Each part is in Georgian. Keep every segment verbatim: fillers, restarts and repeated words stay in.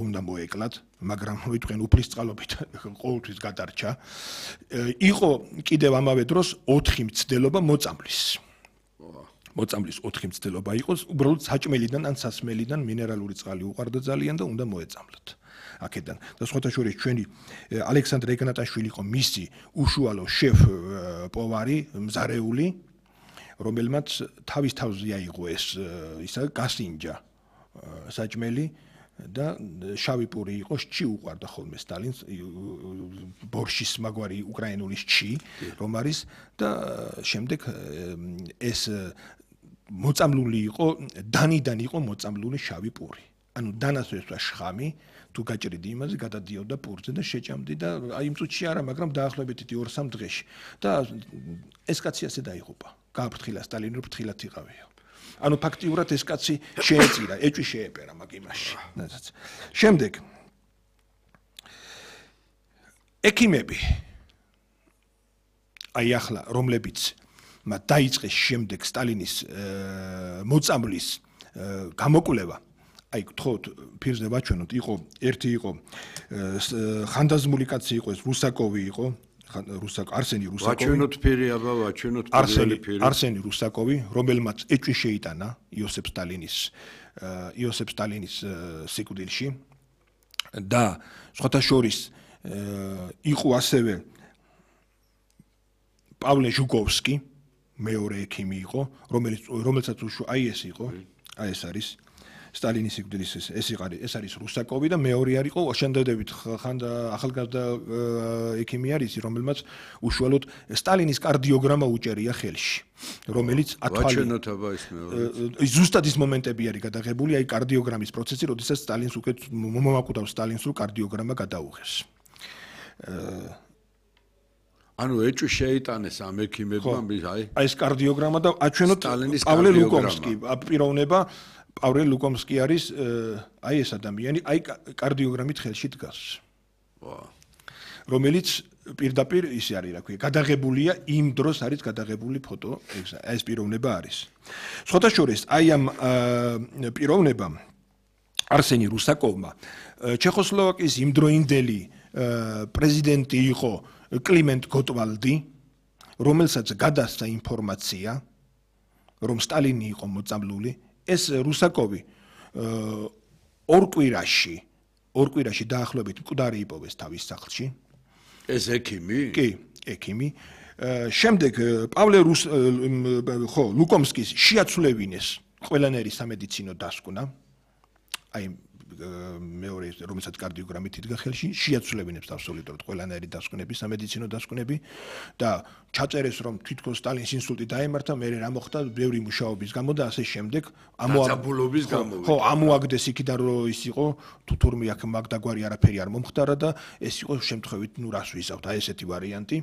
უნდა მოეკლათ, მაგრამ მოიტყვენ უფლის წყალობით ყოველთვის გადარჩა. იყო კიდევ ამავე დროს ოთხი მცდელობა მოწამვლის. მოწამვლის ოთხი მცდელობა იყოს, უბრალოდ საჭმელიდან ან სასმელიდან მინერალური წყალი უყარდა ძალიან და უნდა მოეწამლოთ. აქედან და სხვათა შორის ჩვენი ალექსანდრე ეგნატაშვილი იყო მისი უშუალო შეფ პოვარი, მზარეული, რომელმაც თავის თავზე აიღო ეს ისა გასინჯა საჭმელი და შავი პური იყო, შჩი უყარდა ხოლმე სტალინს, ბორშის მაგვარი უკრაინული შჩი, რომ არის და შემდეგ ეს მოწამლული იყო, დანიდან იყო მოწამლული შავი პური. ანუ დანასვესვა შხამი, თუ გაჭრიდი იმაზე, გადადიოდა პურზე და შეჭამდი და აი იმ წუთში არა, მაგრამ დაახლოებით ორ-სამ დღეში. და ეს კაცი ასე დაიღუპა. გააფრთხილა სტალინი, რომ ფრთხილად იყავია. ანუ ფაქტიურად ეს კაცი შეეწირა, ეჭვი შეეპერა მაგ იმაში. შემდეგ ექიმები აი ახლა რომლებიც დაიწყეს შემდეგ სტალინის მოწამვლის გამოკვლევა აი გთხოვთ ფირზე ვაჩვენოთ, იყო ერთი იყო ხანდაზმული კაცი იყო ეს რუსაკოვი იყო, რუსაკ არსენი რუსაკოვი. ვაჩვენოთ ფირი, აბა ვაჩვენოთ ფირი. არსენი რუსაკოვი, რომელმაც ეჭვი შეიტანა იოსებ სტალინის იოსებ სტალინის სიკვდილში და სხვათა შორის იყო ასევე პავლე ჟუკოვსკი, მეორე ექიმი იყო, რომელიც რომელსაც აი ეს იყო, აი ეს არის სტალინის სიკვდილის ეს იყარი, ეს არის რუსაკოვი და მეორე არის იყო შენდადებით ხანდა ახალგაზრდა ექიმი არის, რომელმაც უშუალოდ სტალინის კარდიოგრამა უჭერია ხელში, რომელიც ათვალი ვაჩვენოთ აბა ის მეორე. ზუსტად ის მომენტები არის გადაღებული, აი კარდიოგრამის პროცესი, როდესაც სტალინს უკეთ მომაკვდავს სტალინს, რომ კარდიოგრამა გადაუღეს. ანუ ეჭვი შეიტანეს ამ ექიმებმა, აი აი ეს კარდიოგრამა და აჩვენოთ პავლე ლუკომსკი, პიროვნება პავლე ლუკომსკი არის აი ეს ადამიანი, აი კარდიოგრამით ხელში დგას. რომელიც პირდაპირ ისე არის, რა ქვია, გადაღებულია, იმ დროს არის გადაღებული ფოტო, ეს პიროვნება არის. სხვათა შორის, აი ამ პიროვნებამ არსენი რუსაკოვმა ჩეხოსლოვაკიის იმდროინდელი პრეზიდენტი იყო კლიმენტ გოტვალდი, რომელსაც გადასცა ინფორმაცია, რომ სტალინი იყო მოწამლული. ეს რუსაკოვი ორ კვირაში, ორ კვირაში დაახლოებით მკვდარი იპოვეს თავის სახლში. ეს ექიმი? კი, ექიმი. შემდეგ პავლე რუს ხო, ლუკომსკის შეაცვლევინეს ყველანაირი სამედიცინო დასკვნა. აი მეორე რომელსაც კარდიოგრამით იდგა ხელში, შეაცვლევინებს აბსოლუტურად ყველანაირი დასკვნები, სამედიცინო დასკვნები და ჩაწერეს რომ თვითონ სტალინს ინსულტი დაემართა, მე რა მოხდა ბევრი მუშაობის გამო და ასე შემდეგ ამოაგდების გამო. ხო, ამოაგდეს იქიდან რომ ის იყო, თუ თურმე აქ მაგდაგვარი არაფერი არ მომხდარა და ეს იყო შემთხვევით, ნუ რას ვიზავთ, აი ესეთი ვარიანტი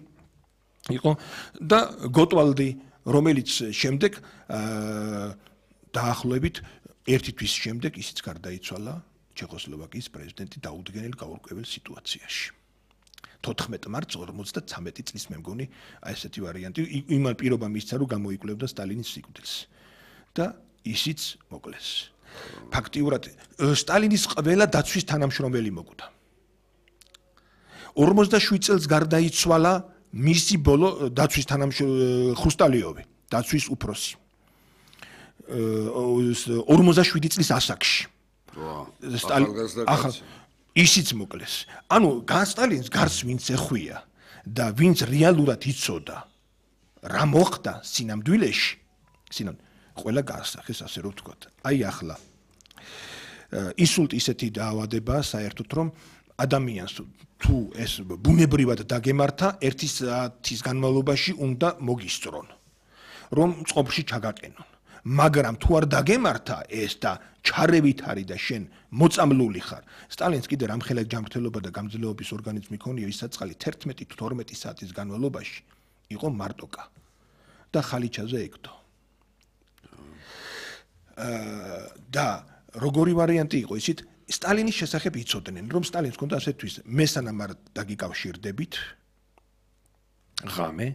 იყო და გოტვალდი, რომელიც შემდეგ დაახლოებით ერთი თვის შემდეგ ისიც გარდაიცვალა ჩეხოსლოვაკიის პრეზიდენტი დაუდგენელ გაურკვეველ სიტუაციაში. თოთხმეტ მარტს ორმოცდათრამეტი წლის მე მგონი აი ესეთი ვარიანტი იმან პირობა მისცა რომ გამოიკვლევდა სტალინის სიკვდილს და ისიც მოკლეს. ფაქტიურად სტალინის ყველა დაცვის თანამშრომელი მოკვდა. ორმოცდაშვიდ წელს გარდაიცვალა მისი ბოლო დაცვის თანამშრომელი ხუსტალიოვი, დაცვის უფროსი. ორმოცდაშვიდი წლის ასაკში. ახალ ისიც მოკლეს. ანუ სტალინს გარს ვინც ეხვია და ვინც რეალურად იცოდა რა მოხდა სინამდვილეში, სინამ ყველა გაასახეს ასე რომ ვთქვათ. აი ახლა ინსულტი ისეთი დაავადება საერთოდ რომ ადამიანს თუ ეს ბუნებრივად დაგემართა, ერთი საათის განმავლობაში უნდა მოგისწრონ, რომ წყობში ჩაგაყენონ. მაგრამ თუ არ დაგემართა ეს და ჩარევით არის და შენ მოწამლული ხარ. სტალინს კიდე რამხელა ჯანმრთელობა და გამძლეობის ორგანიზმი ქონია, ის საწყალი თერთმეტი თუ თორმეტი საათის განმავლობაში იყო მარტოკა და ხალიჩაზე ეკდო. და როგორი ვარიანტი იყო ისიც სტალინის შესახებ იცოდნენ, რომ სტალინს ჰქონდა ასეთთვის მესანამ არ დაგიკავშირდებით ღამე,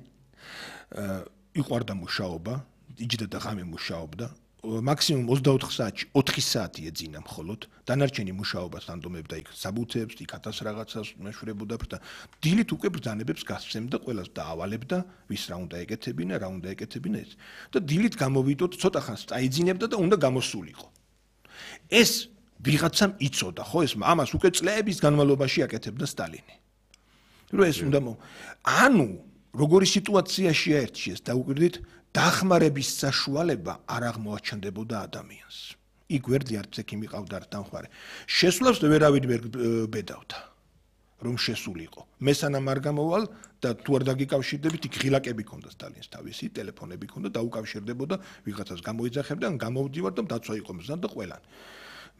იყვარდა მუშაობა, იჯდა და ღამე მუშაობდა, მაქსიმუმ ოცდაოთხ საათში ოთხი საათი ეძინა მხოლოდ, დანარჩენი მუშაობას ანდომებდა იქ საბუთებს, იქ ათას რაღაცას მეშვერებოდა და დილით უკვე ბრძანებებს გასცემდა, ყველას დაავალებდა, ვის რა უნდა ეკეთებინა, რა უნდა ეკეთებინა ეს. და დილით გამოვიდოდ, ცოტა ხანს წაიძინებდა და უნდა გამოსულიყო. ეს ვიღაცამ იცოდა, ხო, ეს ამას უკვე წლების განმავლობაში აკეთებდა სტალინი. რომ ეს უნდა ანუ როგორი სიტუაციაში აერჩიეს დაუკვირდით დახმარების საშუალება არ აღმოაჩნდებოდა ადამიანს. იქ გვერდზე არც ექიმი ყავდა არ დამხმარე. შესვლას ვერავინ ვერ ბედავდა. რომ შესულიყო. მესანამ არ გამოვალ და თუ არ დაგიკავშირდებით, იქ ღილაკები ქონდა სტალინს თავისი, ტელეფონები ქონდა, დაუკავშირდებოდა, ვიღაცას გამოიძახებდა, ან გამოვდივარ და დაცვა იყო მზად და ყველანი.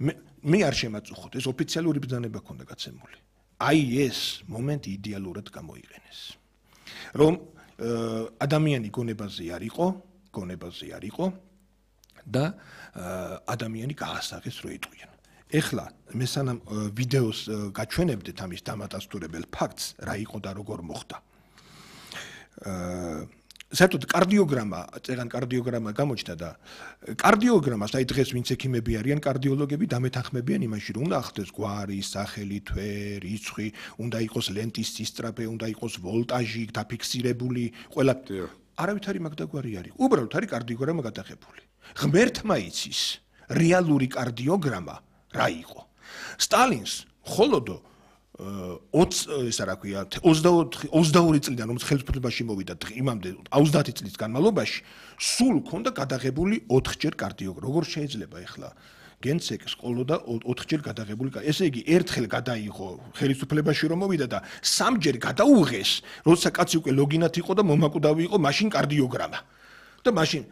მე მე არ შემაწუხოთ, ეს ოფიციალური ბრძანება ქონდა გაცემული. აი ეს მომენტი იდეალურად გამოიყენეს. რომ ადამიანი გონებაზე არ იყო, გონებაზე არ იყო და ადამიანი გაასაღეს რო იტყვიან. ეხლა მესანამ ვიდეოს გაჩვენებდეთ ამის დამადასტურებელ ფაქტს, რა იყო და როგორ მოხდა. საერთოდ კარდიოგრამა, წეგან კარდიოგრამა გამოჩნდა და კარდიოგრამას აი დღეს ვინც ექიმები არიან, კარდიოლოგები დამეთანხმებიან იმაში, რომ უნდა ახდეს გვარი, სახელი, თვე, რიცხვი, უნდა იყოს ლენტის სისწრაფე, უნდა იყოს ვოლტაჟი დაფიქსირებული, ყველა არავითარი მაგდაგვარი არის. უბრალოდ არის კარდიოგრამა გადაღებული. ღმერთმა იცის რეალური კარდიოგრამა რა იყო. სტალინს ხოლოდო ოცი რა ქვია ოცდაორი წლიდან რომ ხელისუფლებაში მოვიდა იმამდე ოცდაათი წლის განმავლობაში სულ ქონდა გადაღებული ოთხჯერ კარდიოგრამა. როგორ შეიძლება ახლა გენცეკს ყოლოდა ოთხჯერ გადაღებული. ესე იგი ერთხელ გადაიღო ხელისუფლებაში რომ მოვიდა და სამჯერ გადაუღეს, როცა კაცი უკვე ლოგინად იყო და მომაკვდავი იყო, მაშინ კარდიოგრამა. და მაშინ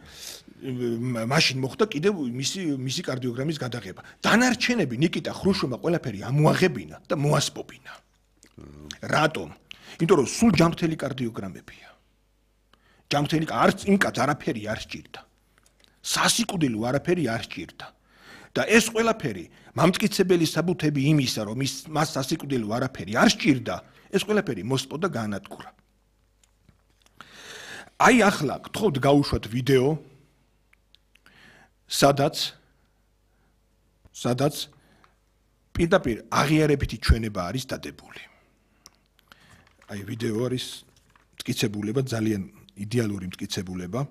მაშინ მოხდა კიდევ მისი მისი კარდიოგრამის გადაღება. დანარჩენები ნიკიტა ხრუშოვმა ყველაფერი ამოაღებინა და მოასპობინა. რატომ? იმიტომ რომ სულ ჯანმრთელი კარდიოგრამებია. ჯანმრთელი არც იმ კაც არაფერი არ სჭირდა. სასიკვდილო არაფერი არ სჭირდა. და ეს ყველაფერი მამტკიცებელი საბუთები იმისა, რომ მას სასიკვდილო არაფერი არ სჭირდა, ეს ყველაფერი მოსპო და გაანადგურა. აი ახლა გთხოვთ გაუშვათ ვიდეო სადაც სადაც პირდაპირ აღიარებითი ჩვენება არის დადებული. აი ვიდეო არის მტკიცებულება, ძალიან იდეალური მტკიცებულება.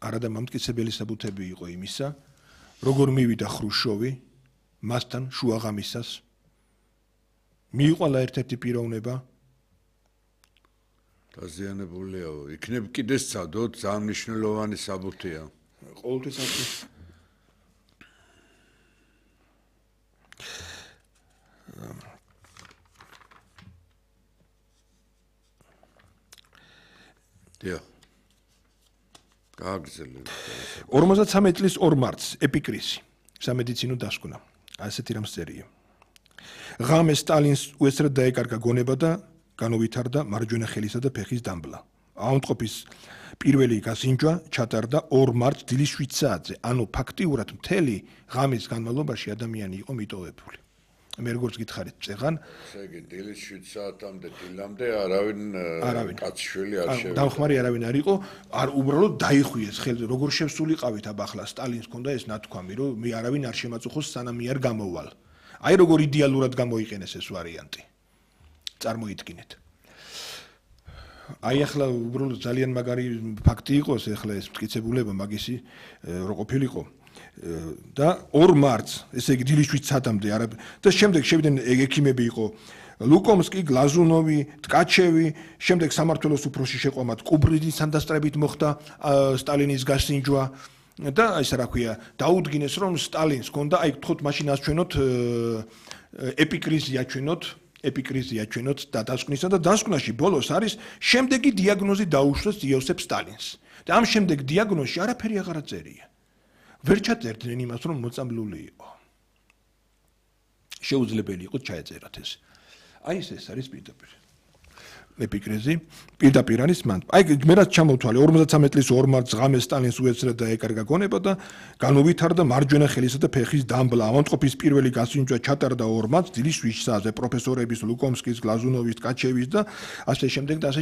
არადა მამტკიცებელი საბუთები იყო იმისა, როგორ მივიდა ხრუშოვი მასთან შუაღამისას მიიყვალა ერთ-ერთი პიროვნება დაზიანებულია, იქნებ კიდე სცადოთ, ძალიან მნიშვნელოვანი საბუთია. ყოველთვის ასე დიახ. გააგრძელეთ. ორმოცდამეცი წლის ორ მარტს ეპიკრისი სამედიცინო დასკვნა. ასეთი რამ წერია. ღამე სტალინს უესრად დაეკარგა გონება და განუვითარდა მარჯვენა ხელისა და ფეხის დამბლა. აუნტყოფის პირველი გასინჯვა ჩატარდა ორ მარტს დილის შვიდ საათზე. ანუ ფაქტიურად მთელი ღამის განმავლობაში ადამიანი იყო მიტოვებული. მე როგორც გითხარით წეღან, ესე იგი დილის შვიდ საათამდე დილამდე არავინ კაცშვილი არ შევიდა. დამხმარე არავინ არ იყო, არ უბრალოდ დაიხვიეს ხელზე, როგორ შევსულიყავით აბა ახლა სტალინს ჰქონდა ეს ნათქვამი, რომ მე არავინ არ შემაწუხოს სანამ მე არ გამოვალ. აი როგორ იდეალურად გამოიყენეს ეს ვარიანტი. წარმოიდგინეთ. აი ახლა უბრალოდ ძალიან მაგარი ფაქტი იყოს ახლა ეს მტკიცებულება მაგისი რო ყოფილიყო. და ორ მარტს, ესე იგი დილის შვიდ საათამდე არა და შემდეგ შევიდნენ ექიმები იყო ლუკომსკი, გლაზუნოვი, ტკაჩევი, შემდეგ სამართველოს უფროსი შეყვამათ კუბრიძის სანდასტრებით მოხდა სტალინის გასინჯვა და ეს რა ქვია, დაუდგინეს რომ სტალინს ჰქონდა, აი გთხოვთ მაშინ ასჩვენოთ ეპიკრიზი აჩვენოთ, ეპიკრიზი აჩვენოთ და დასკვნისა და დასკვნაში ბოლოს არის შემდეგი დიაგნოზი დაუშვეს იოსებ სტალინს. და ამ შემდეგ დიაგნოზში არაფერი აღარ წერია. ვერ ჩაწერდნენ იმას, რომ მოწამლული იყო. შეუძლებელი იყო ჩაეწერათ ეს. აი ეს ეს არის პირდაპირ. ეპიკრიზი პირდაპირ არის მან. აი მე რაც ჩამოვთვალე ორმოცდამეტ წლის ორ მარტს ღამეს სტალინს უეცრა და ეკარგა გონება და განუვითარდა მარჯვენა ხელისა და ფეხის დამბლა. ავადმყოფის პირველი გასინჯვა ჩატარდა ორ მარტს დილის შვიდ საათზე პროფესორების ლუკომსკის, გლაზუნოვის, ტკაჩევის და ასე შემდეგ და ასე